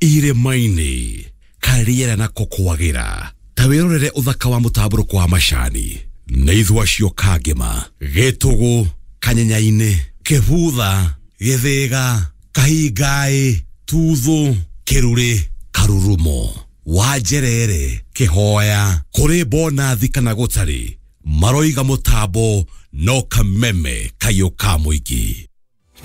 Irĩma-inĩ karĩera nako kwagĩra ta wĩrorere ũthaka wa mũtambũrũko wa macani nĩ ithua cio kangĩma gĩtũgũ kanyenya-inĩ kĩbutha gĩthĩga kahingaĩ tuthũ kĩrurĩ karurumo wanjerere kĩhoya kũrĩ bonathi kana gũtarĩ maroiga mũtambo no kameme kayũ ka mũingĩ.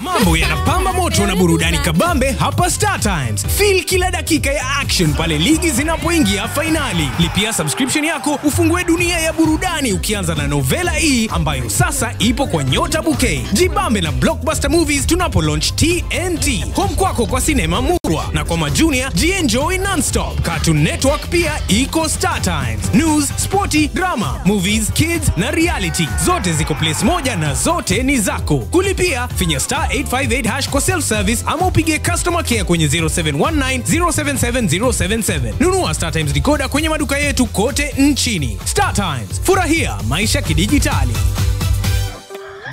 Mambo yanapamba moto na burudani kabambe hapa Star Times. Feel kila dakika ya action pale ligi zinapoingia fainali. Lipia subscription yako ufungue dunia ya burudani ukianza na Novela E ambayo sasa ipo kwa Nyota Bouquet. Jibambe na Blockbuster Movies tunapo launch TNT. Home kwako kwa sinema murwa na kwa majunia jienjoy nonstop. Cartoon Network pia iko Star Times. News, sporty, drama, movies, kids na reality. Zote ziko place moja na zote ni zako. Kulipia finya star 858 hash kwa self service ama upige customer care kwenye 0719 077 077. Nunua Star Times decoder kwenye maduka yetu kote nchini. Star Times, furahia maisha kidijitali.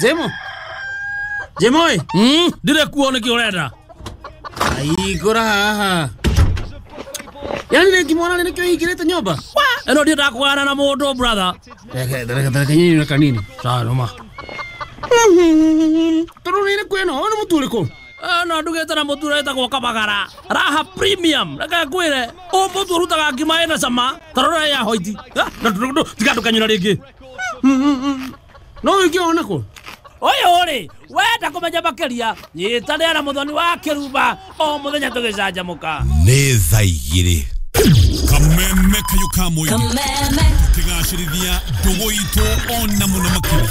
Jemo. Jemo. Ndire kuona kiurenda. Ai gora haha. Yani nikimwona nikio hingirite nyumba. Eno ndienda kugana na mundu brother. Reke nyinyi na kanini. Sawa noma. Toro ni kweno ono mutu uriku? No ndugite na mutu wetagwo Kabagara. Raha Premium. Reke ngwire, o mutu urutaga ngima ina cama, tarora ya hoiti. Na tiga ndukanyura ringi. No ukiona ko? Ũyũ rĩ, wenda kũmenya makĩria, nyitanĩra na Mũthoni wa Kĩrumba o mũthenya tũgĩcanjamũka. Nĩ thaa igĩrĩ. Kameme kayo ka mũingĩ tũkĩgacĩrithia ndũgũ itũ ona mũno makĩria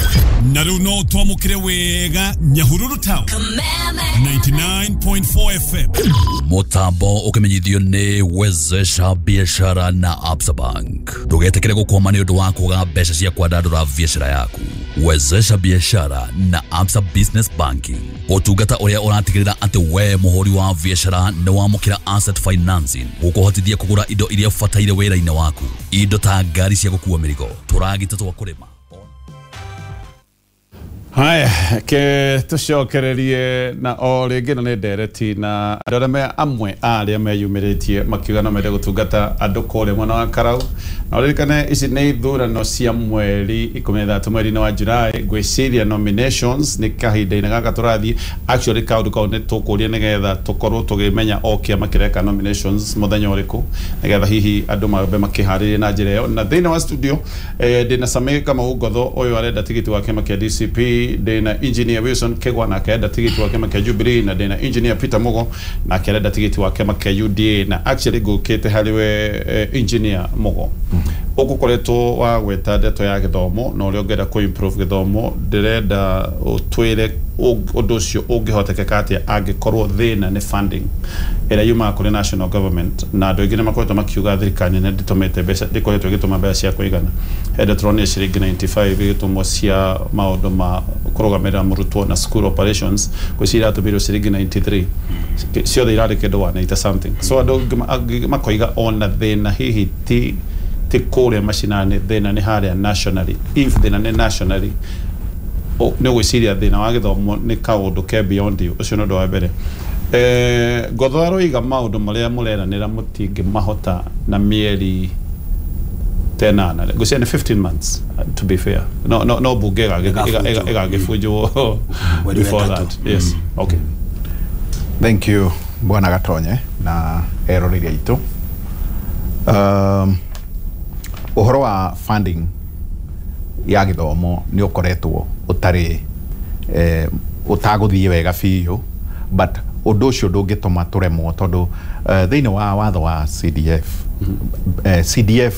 na rĩu no twamũkĩre wega Nyahururu Town 99.4 FM. Mutambo ukimenyithio ni Wezesha Biashara na Absa Bank. Ndugetikire gukwama ni undu wa kwaga mbeca cia kwandandura biashara yaku. Wezesha Biashara na Absa Business Banking, utungata uria uratigirira ati we muhuri wa biashara ni wamukira asset financing gukuhotithia kugura indo iria ubataire wira-ini waku, indo ta ngari cia gukua mirigo, turagita twa kurima. Haya, ke tucokererie na o rĩngĩ na nĩ ndereti na andũ arĩa me amwe a arĩa meyumĩrĩtie makiuga no mende gũtungata andũ kũrĩa mwena wa Karau. Na ũririkane ici nĩ ithurano cia mweri 13 mweri-inĩ wa July. Ngwĩciria nominations nĩ kahinda-inĩ gaka tũrathiĩ. Actually kaũndũ kau nĩ tũkũria nĩgetha tũkorwo tũkĩmenya o kĩama kĩreka nominations mũthenya ũrĩkũ, nĩgetha hihi andũ mambe makĩharĩrie na njĩra ĩyo. Na thĩinĩ wa studio ndĩna Sammy Kamau Ngotho, ũyũ arenda tigiti wa kĩama kĩa DCP, ndĩna Engineer Wilson Kegwa nake arenda tigiti wa kĩama kĩa Jubilee, na ndĩna Engineer Peter Mugo nake arenda tigiti wa kĩama kĩa UDA. Na actually ngũkĩte harĩ we Engineer Mugo, ũgũkoretwo wa gweta ndeto ya gĩthomo na ũrĩa ũngĩenda kũ improve gĩthomo. Ndĩrenda ũtwĩre ũndũ ũcio ũngĩhotekeka atĩa angĩkorwo thĩna nĩ funding ĩrĩa yumaga kũrĩ national government, na andũ aingĩ nĩ makoretwo makiuga thirikari nene ndĩtũmĩte mbeca, ndĩkoretwo ĩgĩtũma mbeca cia kũigana. Hĩndĩ tũronire ciringi 95 igĩtũmwo cia maũndũ ma kũrũgamĩrĩra mũrutwo na school operations, ngwĩciria iratũmĩirwo ciringi 93, ciothe irarĩ kĩndũ 180 something. So andũ angĩ makoiga ona thĩna hihi ti kũrĩa macinani, thĩna nĩ harĩa nationally. If thĩna nĩ nationally, nĩ ũgwĩciria thĩna wa gĩthomo nĩ kaũndũ ke beyond you. Ũcio nĩ ũndũ wa mbere. Ngotho aroiga maũndũ marĩa mũreranĩra mũtingĩmahota na mĩeri 8, ngwĩciria nĩ 15 months to be fair. No bunge ĩgagĩbunjwo before that. Yes, okay. Thank you Bwana Gatonye na eroreri aitũ. Ũhoro wa funding ya gĩthomo nĩ ũkoretwo ũtarĩ ũtagũthiĩ wega biũ, but ũndũ ũcio ndũngĩtũma tũremwo tondũ thĩinĩ wa watho wa CDF, CDF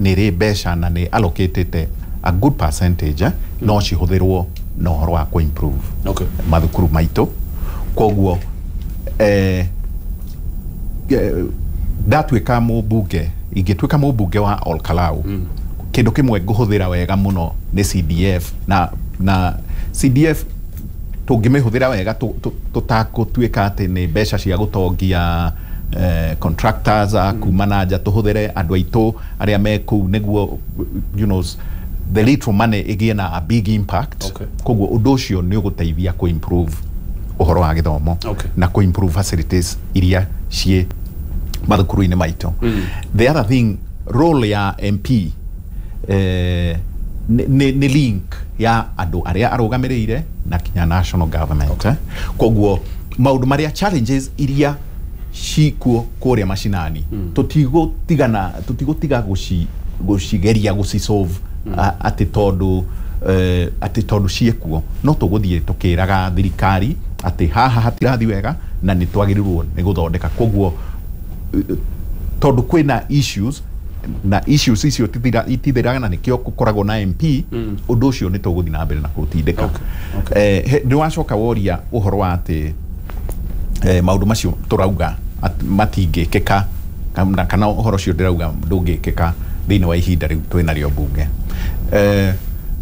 nĩ ĩrĩ mbeca na nĩ allocatĩte a good percentage no cihũthĩrwo na ũhoro wa kũ-improve mathukuru maitũ. Koguo ndatuĩka mũmbunge, ingĩtuĩka mũmbunge wa Olkalau, kĩndũ kĩmwe ngũhũthĩra wega mũno nĩ CDF, na CDF tũngĩmĩhũthĩra wega tũtakũtuĩka atĩ nĩ mbeca cia gũtongia contractors a kuma na nja, tũhũthĩre andũ aitũ arĩa me kũu nĩguo, you know, the little money ĩgĩe na a big impact. Koguo ũndũ ũcio nĩ ũgũteithia kũ improve ũhoro wa gĩthomo na kũ improve facilities iria ciĩ mathukuru-inĩ maitũ. The other thing, role ya MP nĩ link ya andũ arĩa arũgamĩrĩire na kinya national government. Okay. Koguo maũndũ marĩa challenges iria cikuo kũrĩa macinani, tũtigũtiga gũcigeria gũcisolve atĩ tondũ ciĩkuo, no tũgũthiĩ tũkĩraga thirikari atĩ haha hatirathi wega na nĩ twagĩrĩirwo nĩ gũthondeka. Koguo tondũ kwĩna issues na issues icio itithiraga na nĩkĩo gũkoragwo na MP, ũndũ ũcio nĩ tũgũthiĩ na mbere na kũũtindĩka. Nĩ wacoka woria ũhoro wa atĩ maũndũ macio tũrauga matingĩkĩka kana ũhoro ũcio ndĩrauga ndũngĩkĩka thĩinĩ wa ihinda rĩu twĩnarĩo mbunge.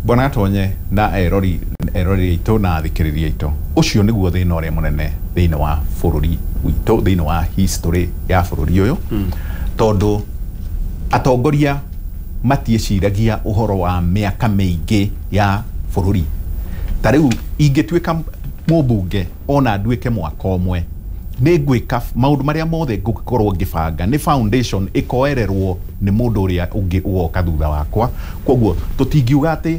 Bwana Gatonye na erori aitũ na athikĩrĩria aitũ, ũcio nĩguo thĩna ũrĩa mũnene thĩinĩ wa bũrũri witũ, thĩinĩ wa history ya bũrũri ũyũ, tondũ atongoria matiĩciragia ũhoro wa mĩaka mĩingĩ ya bũrũri. Ta rĩu ingĩtuĩka mũmbunge ona nduĩke mwaka ũmwe, nĩ ngwĩka maũndũ marĩa mothe ngũkorwo ngĩbanga nĩ foundation ĩkoererwo nĩ mũndũ ũrĩa ũngĩ ũgoka thutha wakwa. Koguo tũtingiuga atĩ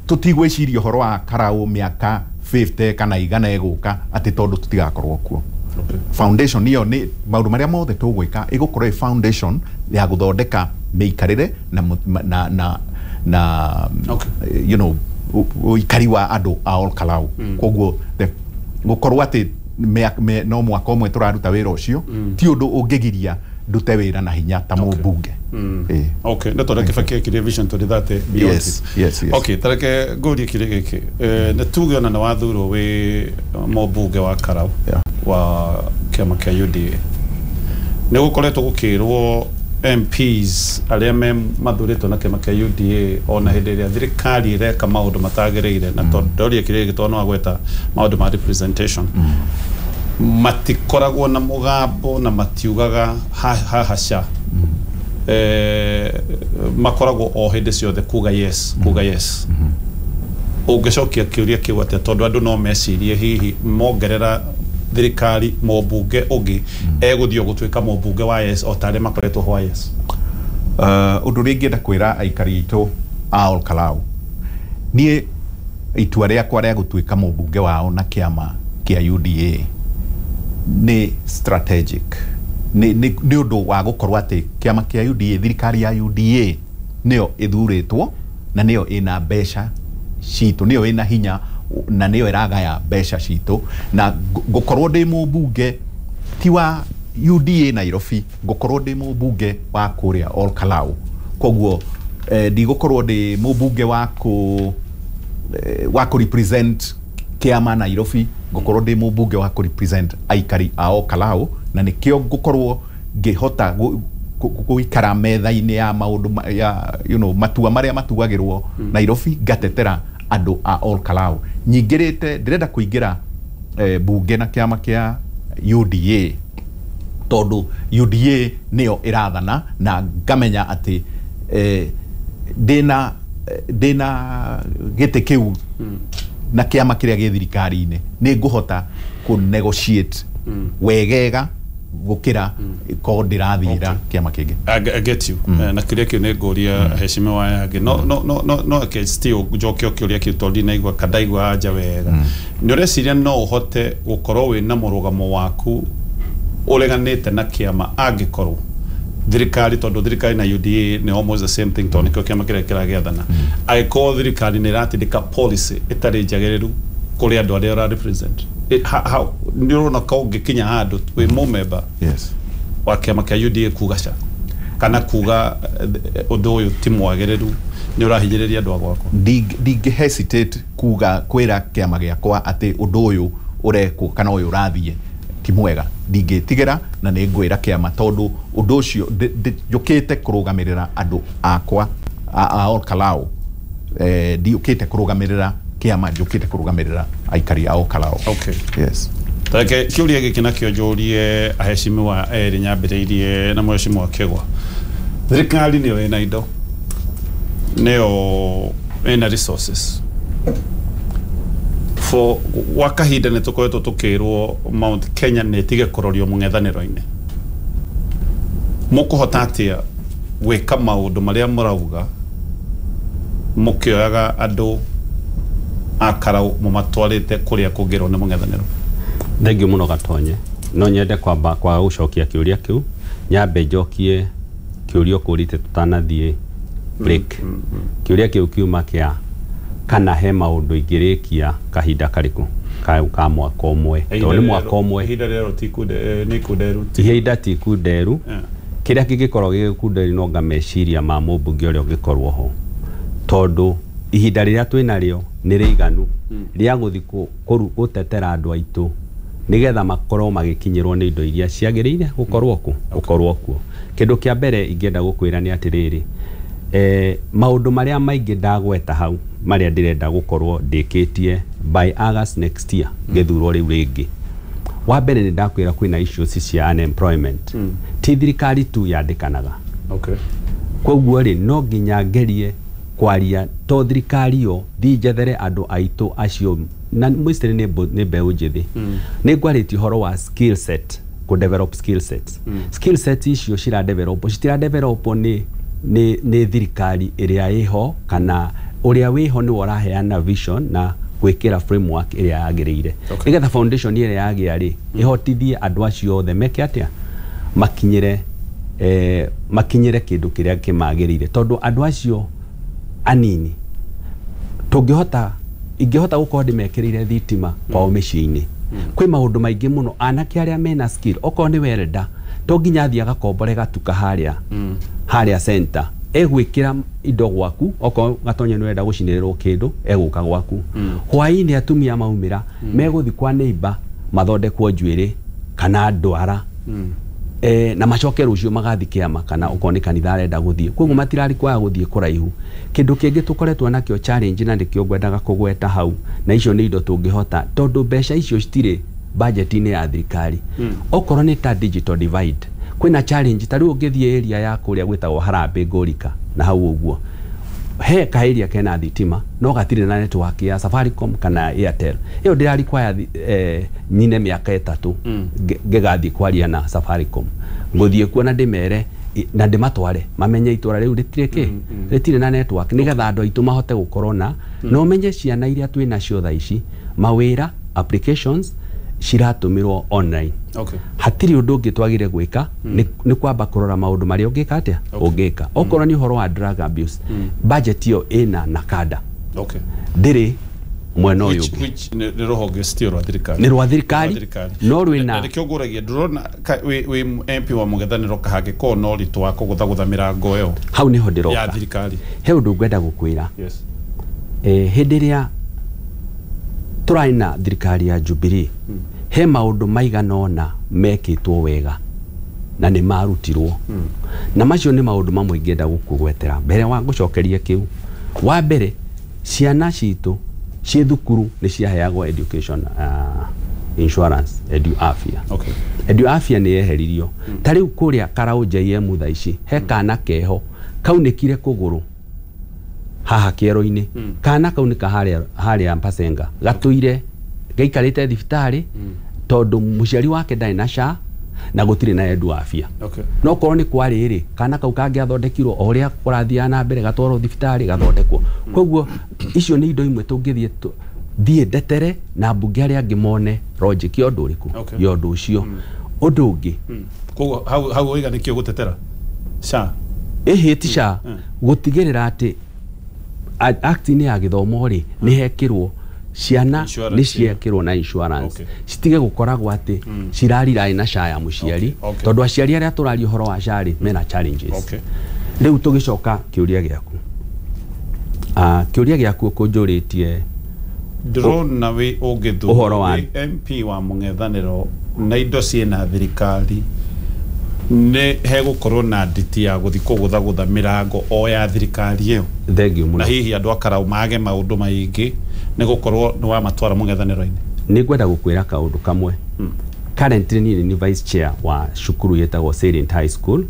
tũtigwĩciria ũhoro wa Karau mĩaka 50 kana igana ĩgũka atĩ tondũ tũtigakorwo kuo. Foundation ĩyo nĩ maũndũ marĩa mothe tũgwĩka ĩgũkorwo ĩ foundation ya gũthondeka mĩikarĩre na you know, ũikari wa andũ a Ol Kalou. Koguo gũkorwo atĩ no mwaka ũmwe tũraruta wĩra ũcio ti ũndũ ũngĩgiria ndute wĩra na hinya ta mũmbunge. Okay, nĩ tondũ Kibaki ekire Vision 2030 beyond. Yes, yes, yes. Okay, tareke ngũrie kĩrĩa gĩkĩ. Nĩ tuge ona nĩ wathurwo wĩ mũmbunge wa Karau wa kĩama kĩa UDA. Nĩ gũkoretwo gũkĩrwo MPs arĩa me mathurĩtwo na kĩama kĩa UDA ona hĩndĩ ĩrĩa thirikari ĩreka maũndũ matagĩrĩire, na tondũ ndoria kĩrĩa gĩkĩ tondũ no agweta maũndũ ma representation, matikoragwo na mũgambo na matiugaga hahaca, makoragwo o hĩndĩ ciothe kuga yes, kuga yes. Ũngĩcokia kĩũria kĩu atĩa, tondũ andũ no mecirie hihi mongerera thirikari mũmbunge ũngĩ egũthiĩ gũtuĩka mũmbunge wa yes o ta arĩa makoretwo ho wa yes? Ũndũ ũrĩa ingĩenda kwĩra aikari aitũ a Ol Kalou, niĩ itua rĩakwa rĩa gũtuĩka mũmbunge wao na kĩama kĩa UDA nĩ strategic. Nĩ ũndũ wa gũkorwo atĩ kĩama kĩa UDA, thirikari ya UDA nĩyo ĩthurĩtwo na nĩyo ĩna mbeca citũ, nĩyo ĩna hinya na nĩyo ĩragaya mbeca citũ, na ngũkorwo ndĩ mũmbunge ti wa UDA Nairobi, ngũkorwo ndĩ mũmbunge wa kũrĩa Ol Kalou. Koguo ndigũkorwo ndĩ mũmbunge wa kũ represent kĩama Nairobi, ngũkorwo ndĩ mũmbunge wa kũ represent aikari a Ol Kalou, na nĩkĩo ngũkorwo ngĩhota gũikara metha-inĩ ya maũndũ ya, you know, matua marĩa matuagĩrwo Nairobi, ngatetera andũ a Ol Kalou. Nyingĩrĩte, ndĩrenda kũingĩra bunge na kĩama kĩa UDA tondũ UDA nĩyo ĩrathana, na ngamenya atĩ ndĩna gĩtĩ kĩu na kĩama kĩrĩa gĩ thirikari-inĩ nĩ ngũhota kũ negotiate wegega gũkĩra ko ndĩrathira kĩama kĩngĩ. I get you. Na kĩrĩa kĩu nĩ ngũria heshima yake. No no no no no ke still njokio kĩũria kĩu tondũ ndinaigua kandaigua anja wega. Nĩ ũreciria no ũhote gũkorwo wĩna mũrũgamo waku ũreganĩte na kĩama angĩkorwo thirikari, tondũ thirikari na UDA nĩ almost the same thing, tondũ nĩkĩo kĩama kĩrĩa kĩragĩathana, angĩkorwo thirikari nĩ ĩratindĩka policy ĩtarĩ njagĩrĩru kũrĩ andũ arĩa ũra represent, nĩ ũrona ka ũngĩkinya handũ wĩ mũmemba wa kĩama kĩa UDA kuga ca kana kuga ũndũ ũyũ ti mwagĩrĩru, nĩ ũrahinyĩrĩria andũ a gwakwa? Ndingĩ hesitate kuga kwĩra kĩama gĩakwa atĩ ũndũ ũyũ ũrekwo kana ũyũ ũrathiĩ ti mwega, ndingĩtigĩra na nĩ ngwĩra kĩama tondũ ũndũ ũcio njũkĩte kũrũgamĩrĩra andũ akwa a Ol Kalou, ndiũkĩte kũrũgamĩrĩra kĩama, njũkĩte kũrũgamĩrĩra aikari a Ol Kalou. Okay. Yes. Tareke kĩũria gĩkĩ nakĩo njũrie aheshimiwa erĩ nyambĩrĩirie na mheshimiwa Kĩgwa. Thirikari nĩyo ĩna indo, nĩyo ĩna resources. For gwa kahinda nĩ tũkoretwo tũkĩrwo Mount Kenya nĩ ĩtige kũrorio mũng'ethanĩro-inĩ. Mũkũhota atĩa gwĩka maũndũ marĩa mũrauga mũkĩoyaga andũ a Karau mũmatwarĩte kũrĩa kũngĩrwo nĩ mũng'ethanĩro? Thengiũ mũno Gatonye. No nyende kwamba kwaga gũcokia kĩũria kĩu, nyambe njokie kĩũria ũkũrĩte tũtanathiĩ break. Kĩũria kĩu kiuma kĩa kana he maũndũ ingĩrĩkia kahinda karĩkũ ka mwaka ũmwe, tondũ nĩ mwaka ũmwe. Ihinda rĩero ti nĩ ikunderu. Ihinda ti ikunderu. Kĩrĩa kĩngĩkorwo gĩgĩkunderu no nga meciria ma mũmbunge ũrĩa ũngĩkorwo ho, tondũ ihinda rĩrĩa twĩnarĩo nĩ rĩiganu rĩa gũthiĩ gũtetera andũ aitũ nĩgetha makorwo magĩkinyĩrwo nĩ indo iria ciagĩrĩire gũkorwo kuo. Kĩndũ kĩa mbere ingĩenda gũkwĩra nĩ atĩrĩrĩ, maũndũ marĩa maingĩ ndagweta hau marĩa ndĩrenda gũkorwo ndĩkĩtie by August next year ngĩthurwo rĩu rĩngĩ. Wa mbere nĩ ndakwĩra kwĩna issues cia unemployment. Ti thirikari tu yandĩkanaga. Koguo rĩ no nginya ngerie kwaria to thirikari yo thiĩ njethere andũ aitũ acio na mostly nĩ mbeũ njĩthĩ. Nĩ ngwarĩtie ũhoro wa skill set, kũ develop skill sets. Skill sets icio cira develop, citira develop nĩ thirikari ĩrĩa ĩho kana ũrĩa wĩho nĩwe ũraheana vision na gwĩkĩra framework ĩrĩa yagĩrĩire. Nĩgetha foundation ĩrĩa yagĩa rĩ ĩhotithie andũ acio othe meke atĩa, makinyĩre makinyĩre kĩndũ kĩrĩa kĩmagĩrĩire, tondũ andũ acio anini tũngĩhota ingĩhota gũkorwo ndĩmekĩrĩire thitima kwao mĩciĩ-inĩ. Kwĩ maũndũ maingĩ mũno anake arĩa mena skill, okorwo nĩ welder to nginya athiĩ agakombore gatuka harĩa center, egwĩkĩra indo gwaku, okorwo Gatonye nĩ ũrenda gũcinĩrĩrwo kĩndũ egũka gwaku. Hwaĩ-inĩ atumia maumĩra megũthiĩ kwa neighbor mathondekwo njuĩrĩ kana ndwara, na macoke rũciũ magathiĩ kĩama kana okorwo nĩ kanitha arenda gũthiĩ. Koguo matirari kwaga gũthiĩ kũraihu. Kĩndũ kĩngĩ tũkoretwo nakĩo challenge na nĩkĩo ngwendaga kũgweta hau, na icio nĩ indo tũngĩhota tondũ mbeca icio citirĩ budget-inĩ ya thirikari. Okorwo nĩ ta digital divide, kwĩna challenge ta rĩu ũngĩthiĩ area ya kũrĩa gwĩtagwo Harambee Ngũrika na hau ũguo, he ka area kena thitima no gatirĩ na network ya Safaricom kana Airtel. Ĩyo ndĩra require nyine mĩaka 3 ngĩgathiĩ kwaria na Safaricom, ngũthiĩ kuo na ndĩmere na ndĩmatware mamenye itũra rĩu rĩtirĩ kĩ rĩtirĩ na network, nĩgetha andũ aitũ mahote gũkorwo na na ũmenye ciana iria twĩ nacio thaa ici mawĩra applications ciratũmĩrwo online. Hatirĩ ũndũ ũngĩ twagĩrĩire gwĩka nĩ kwamba kũrora maũndũ marĩa ũngĩka atĩa ũngĩka. Okorwo nĩ ũhoro wa drug abuse, budget ĩyo ĩna NACADA. Ndĩrĩ mwena ũyũ ũngĩ. Nĩ rũhonge citio rwa thirikari. Nĩ rwa thirikari no rwĩna nĩkĩo ngũragia ndũrona wĩ MP wa mũng'ethanĩro kahangĩkorwo na ũritũ wa kũgũthagũtha mĩrango ĩyo hau nĩho ndĩroka ya thirikari. He ũndũ ngwenda gũkwĩra. Hĩndĩ ĩrĩa tũrarĩ na thirikari ya Jubilee, he maũndũ maigana ũna mekĩtwo wega na nĩ marutirwo, na macio nĩ maũndũ mamwe ingĩenda gũkũgwetera mbere wa gũcokeria kĩu. Wa mbere, ciana citũ ciĩ thukuru nĩ ciaheagwo education insurance, Edu Afya. Edu Afya nĩ yeheririo. Ta rĩu kũrĩa Karau JM thaa ici he kana keho kaunĩkire kũgũrũ haha kĩero-inĩ. Kana kau nĩ ka harĩa Mpasenga gatũire gaikarĩte thibitarĩ tondũ mũciari wake ndarĩ na SHA na gũtirĩ na Edu Afya. No korwo nĩ kwarĩ rĩ, kana kau kangĩathondekirwo o ũrĩa kũrathiaga na mbere, gatwarwo thibitarĩ gathondekwo. Koguo icio nĩ indo imwe tũngĩthiĩ thiĩ ndetere na mbunge arĩa angĩ mone logic ya ũndũ ũrĩkũ ya ũndũ ũcio. Ũndũ ũngĩ, koguo hau waiga nĩkĩo gũtetera SHA ĩhĩ ti SHA, gũtigĩrĩra atĩ act-inĩ ya gĩthomo rĩ nĩ hekĩrwo ciana nĩ ciekĩrwo na insurance, citige gũkoragwo atĩ cirariraĩ na SHA ya mũciari, tondũ aciari arĩa tũraria ũhoro wa SHA rĩ mena challenges. Rĩu tũgĩcoka kĩũria gĩaku, kĩũria gĩaku ũkũnjũrĩtie ndĩrona wĩ ũngĩthurwo wĩ MP wa mũng'ethanĩro na indo ciĩna thirikari nĩ hegũkorwo na nditi ya gũthiĩ kũgũthagũtha mĩrango o ya thirikari ĩyo. Thengiũ mũno. Na hihi andũ a Karau mage maũndũ maingĩ nĩ gũkorwo nĩ wamatwara mũng'ethanĩro-inĩ. Nĩ ngwenda gũkwĩra kaũndũ kamwe. Currently niĩ nĩ vice chair wa cukuru yetagwo Salient High School,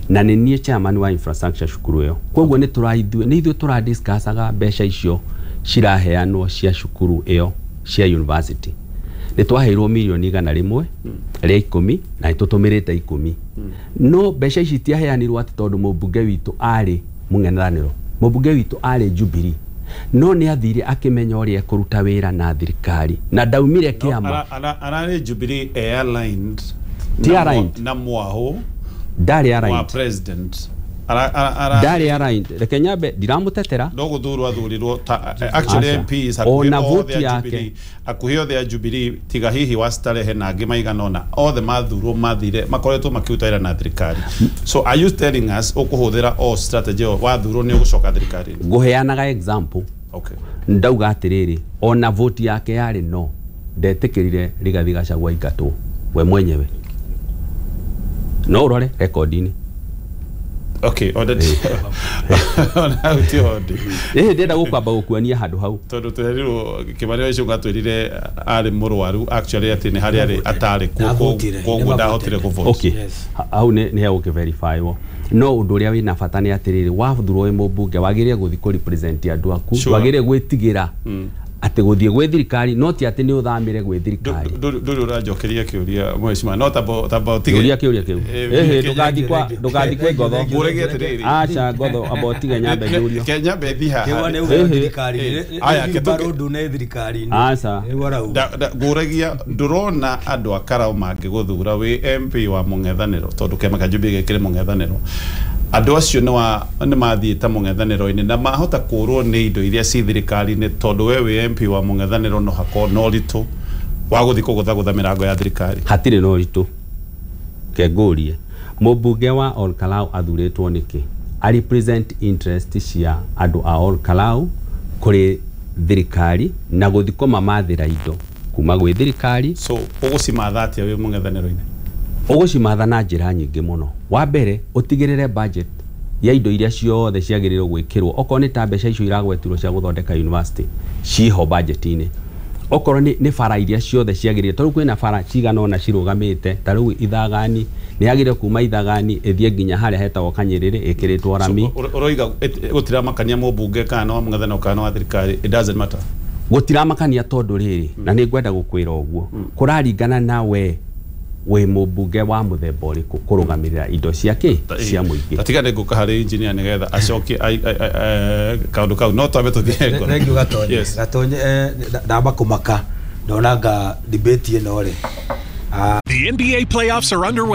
na nĩ niĩ chairman wa infrastructure cukuru ĩyo. Koguo nĩ ithuĩ tũradiscussaga mbeca icio ciraheanwo cia cukuru ĩyo cia university. Nĩ twaheirwo mirioni 110 na nĩ tũtũmĩrĩte 10. No mbeca ici itiaheanirwo atĩ tondũ mũmbunge witũ arĩ mũng'ethanĩro, mũmbunge witũ arĩ Jubilee, no nĩ athire akĩmenya ũrĩa ekũruta wĩra na thirikari na ndaumire kĩama. Ararĩ Jubilee airlined Ti aligned. Na mwaho ndarĩ wa aligned. President Ndarĩ aligned. Reke nyambe ndiramũtetera. No gũthurwo athurirwo ta actually Aca. MPs Ona hakuhĩ vote othe a yake. Jubilee, hakuhĩ othe a Jubilee tiga hihi wa Starehe na angĩ maigana ũna, othe mathurwo mathire makoretwo makĩruta wĩra na thirikari. So are you telling us ũkũhũthĩra o strategy ĩyo wathurwo nĩ ũgũcoka thirikari-inĩ? Ngũheanaga example. Okay. Ndauga atĩrĩrĩ, ona vote yake yarĩ no ndetĩkĩrire Rigathi Gachagua aingatwo we mwenyewe, no ũrore rekondi-inĩ. Okay, ona ona ti hondi. Ĩhĩ, ndĩrenda gũkwamba gũkuonia handũ hau. Tondũ twerirwo Kimani wa Ichung'wa atwĩrire arĩ mũrwaru actually atĩ nĩ harĩa arĩ atarĩ kuo, Ndavotire, koguo ndahotire kũvote. Okay. Hau nĩ hegũkĩverifywo, no ũndũ ũrĩa wĩna bata nĩ atĩrĩrĩ, wathurwo wĩ mũmbunge wagĩrĩire gũthiĩ kũ represent andũ aku. Sure. Wagĩrĩire gwĩtigĩra atĩ gũthiĩ gwĩ thirikari, no ti atĩ nĩ ũthamĩre gwĩ thirikari. Ndũrĩ ũranjokeria kĩũria mheshimiwa, no tamba ũtige. Kĩũria kĩũria kĩu. Ĩhĩ, ndũgathiĩ kwĩ ngotho. Ngũragia atĩrĩrĩ. Aca ngotho, amba ũtige nyambe njũrio. Ke nyambe thi haha. Kĩwa nĩ Ĩhĩ. uga thirikari-inĩ. Aya, Rĩu barũndũ nĩ thirikari-inĩ. Aca. Rĩu arauga. Ngũragia ndũrona andũ a Karau mangĩgũthura wĩ MP wa mũng'ethanĩro, tondũ kĩama kĩa Jubilee gĩkĩrĩ mũng'ethanĩro, andũ acio nĩ mathiĩte mũng'ethanĩro-inĩ na mahota kũrwo nĩ indo iria ci thirikari-inĩ, tondũ we wĩ MP wa mũng'ethanĩro no hakorwo na ũritũ wa gũthiĩ kũgũthagũtha mĩrango ya thirikari. Hatirĩ na ũritũ. Ke ngũrie, mũmbunge wa Ol Kalou athurĩtwo nĩkĩ? A represent interest cia andũ a Ol Kalou kũrĩ thirikari na gũthiĩ kũmamathĩra indo kuma gwĩ thirikari. So ũgũcimatha atĩa wĩ mũng'ethanĩro-inĩ? Ũgũcimatha na njĩra nyingĩ mũno. Wa mbere, ũtigĩrĩre budget ya indo iria ciothe ciagĩrĩirwo gwĩkĩrwo, okorwo nĩ ta mbeca icio iragwetirwo cia gũthondeka university ciho budget-inĩ, okorwo nĩ bara iria ciothe ciagĩrĩire, tondũ kwĩna bara cigana ũna cirũgamĩte, ta rĩu Ithagani nĩ yagĩrĩire kuma Ithagani ĩthiĩ nginya harĩa hetagwo Kanyĩrĩrĩ ĩkĩrĩtwo rami. So, ũroiga gũtiramakania mũmbunge kana nĩ wa mũng'ethanĩro kana nĩ wa thirikari, it doesn't matter. Gũtiramakania tondũ rĩrĩ, na nĩ ngwenda gũkwĩra ũguo, kũraringana na we wĩ mũmbunge wa mũthemba ũrĩkũ kũrũgamĩrĩra indo cia kĩ cia mũingĩ. Tatiga nĩ ngũka harĩ engineer nĩgetha acokie kaũndũ kau, no twambe tũthiĩ ngoro. Thank you Gatonye. Yes. Gatonye, ndamba kũmaka ndonanga debate ĩno rĩ. The NBA playoffs are underway.